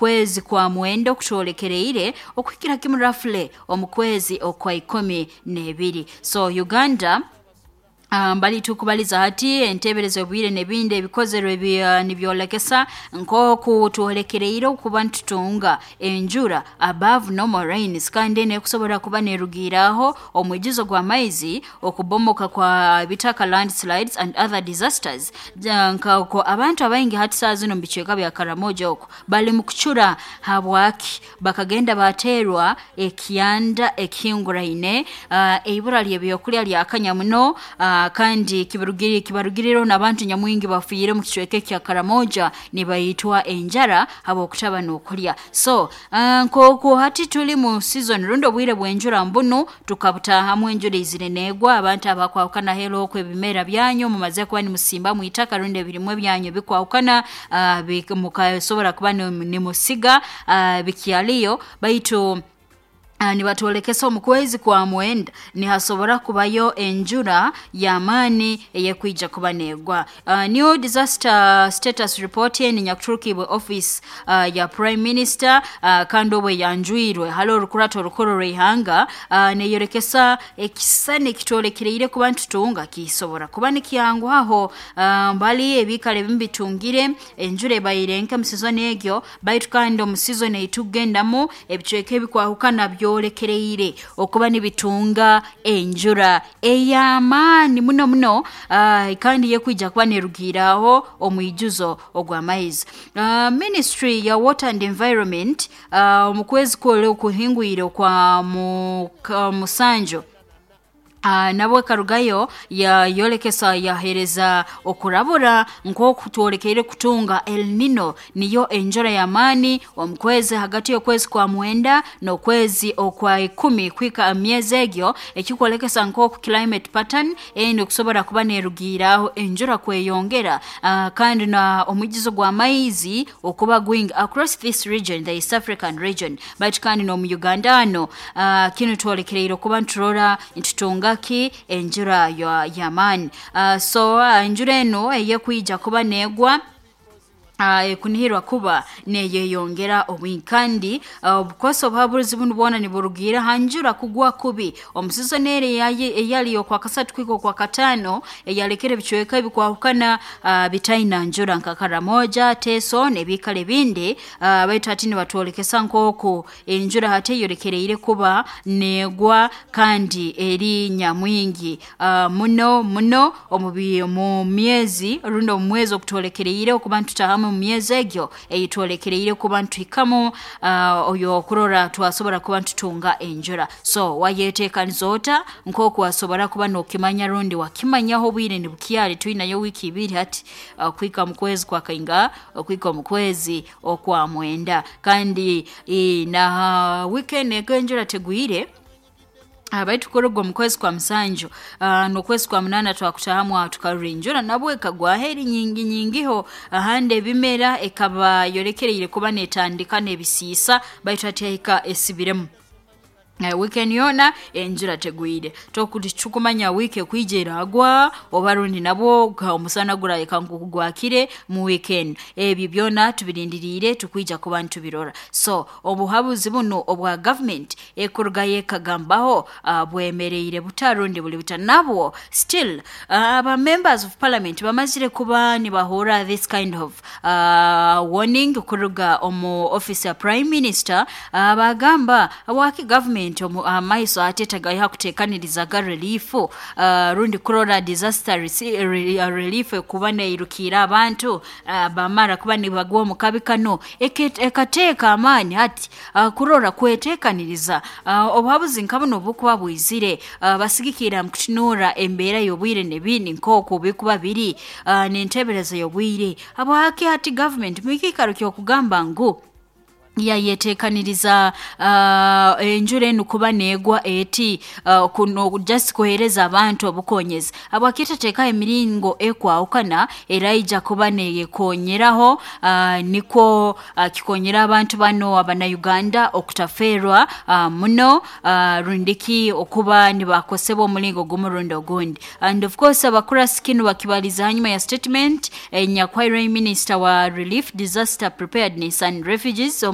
Kwezi kwa mwenda okutwolekereire okuhikira kimu roughly omu kwezi okwa 12. So Uganda, mbali tukubaliza hati enteberezo obwire n'ebindi ebikozerwe nibyolekesa nk'oku twolekereire okuba nitutunga enjura above normal rains, kandi eno ekusobora kuba nerugiiraho omwijuzo gw'amaizi, okubomoka kwa bitaka, landslides and other disasters. Nkako abantu abaingi hati saa zino mu bicweka bya Karamoja okwo bali mu kucura. Habwaki? Bakagenda bateerwa ekyanda ekihinguraine, eibura ly'ebyokulya lyakanya muno, kandi kibarugirireho n'abantu nyamwingi bafiire mu kicweka ekya Karamoja nibaitwa enjara habw'okutaba n'okulya. So nk'oku hati tuli mu season rundi obwire bw'enjura, mbunu tukabutahamu, enjura izire neegwa, abantu abakwahukana helu okwo ebimera byanyu mumaze kuba nimusimbamu itaka rundi ebirimwa byanyu bikwahukana, mukasobora kuba nimusiga, bikyaliyo, baitu nibatwolekesa omu kwezi kwa mwenda nihasobora kubayo enjura y'amaani eyekwija kuba neegwa. New disaster status report eni nyakuturukibwe office ya prime minister, kandi obwe yanjwirwe hali orukurato orukuru rw'ihanga, neyorekesa ekisisani ekitwolekereire kuba nitutunga kisobora kuba nikyanguhaho. Mbali ebiikaro ebimu bitungire enjura ebaire nke mu season egyo, baitu kandi omu season eitukugendamu ebicweka ebikwahukana byolekereire okuba nibitunga enjura ey'amaani muno muno, kandi yekwija kuba nerugiiraho omwijuzo ogw'amaizi. Ministry ya water and environment, omu kwezi okuhingwire okwa musanju, nabwo ekarugayo yayolekesa, yahereza okurabura nk'oku twolekeire kutunga El Nino, niyo enjura y'amaani omu kwezi hagati y'okwezi kwa mwenda n'okwezi okwa 10 kwika myezi egyo, ekikwolekesa nk'oku climate pattern eni okusobora kuba nerugiiraho enjura kweyongera, kandi na omwijuzo gw'amaizi okuba gwingi across this region, the East African region, baitu kandi n'omu Uganda ano kinu twolekereire okuba niturora nitutunga ki enjura y'amaani. So enjura eno eyekwija kuba neegwa, ekunihirwa kuba neyeyongera obwingi, kandi obukosa obuhabuzi bunu bwona niburugiira ha njura kugwa kubi omu season eri eyali okwa kasatu kwika okwa kataano, eyalekere ebicweka ebikwahukana bitaina njura nka Karamoja, Teso n'ebiikaro ebindi, baitu hati nibatwolekesa nk'oku enjura hati eyolekereire kuba neegwa kandi eri nyamwingi muno muno omu myezi rundi omu mwezi okutwolekereire okuba nitutahamu, mu myezi egyo eyitwolekereire kuba nituhikamu, oyo okurora twasobora kuba nitutunga enjura. So wayeteekaniza ota nk'oku wasobora kuba n'okimanya rundi wakimanyaho obwire nibukyali? Twinayo wiiki 2 hati kuhika mu kwezi kwa kainga, okuhika omu kwezi okwa mwenda, kandi na weekend ego enjura tegwire, baitu kuruga omu kwezi kwa musanju n'okwezi kwa munaana twakutahamu aho tukarora enjura nabwo ekagwaho eri nyingi nyingiho, ahandi ebimera ekaba yolekereire kuba netandika n'ebisiisa, baitu hati yahika esibiremu. Weekend yoona enjura tegwire. Tukumanya wiiki ekwija eragwa oba rundi nabwo omusana gurayeka nkoku gwakire mu weekend. Ebyo byona tubirindiriire, tukwija kuba nitubirora. So obuhabuzi bunu obwa government ekurugayo ekagambaho, bwemereire buta rundi buli buta? Nabwo still aba members of parliament bamazire kuba nibahurra this kind of warning kuruga omu office ya prime minister, bagamba waki government amaiso ate tagaiha kuteekanirizaga relief, rundi kurora disaster relief kuba neirukiira abantu bamara kuba nibagwa omu kabi kano, ekateeka amaani hati kurora kweteekaniriza obuhabuzi nka buno obukuba bwizire, basigikirra mu kutunuura embeera y'obwire n'ebindi nk'oku bikuba biri, n'enteebereza y'obwire. Habwaki hati government mu kiikaro ky'okugamba ngu yayeteekaniriza enjura enu kuba neegwa eti, kuno just kuheereza abantu obukonyezi, habwaki etateekaho emiringo ekwahukana eraija kuba neyekonyeraho, nikwo kikonyera abantu bano abanauganda okutaferwa muno, rundiki okuba nibakosebwa omulingo gumu rundi ogundi? And of course abakurasi kinu bakibaliza hanyuma ya statement enyakwahirwe minister wa relief, disaster preparedness and refugees.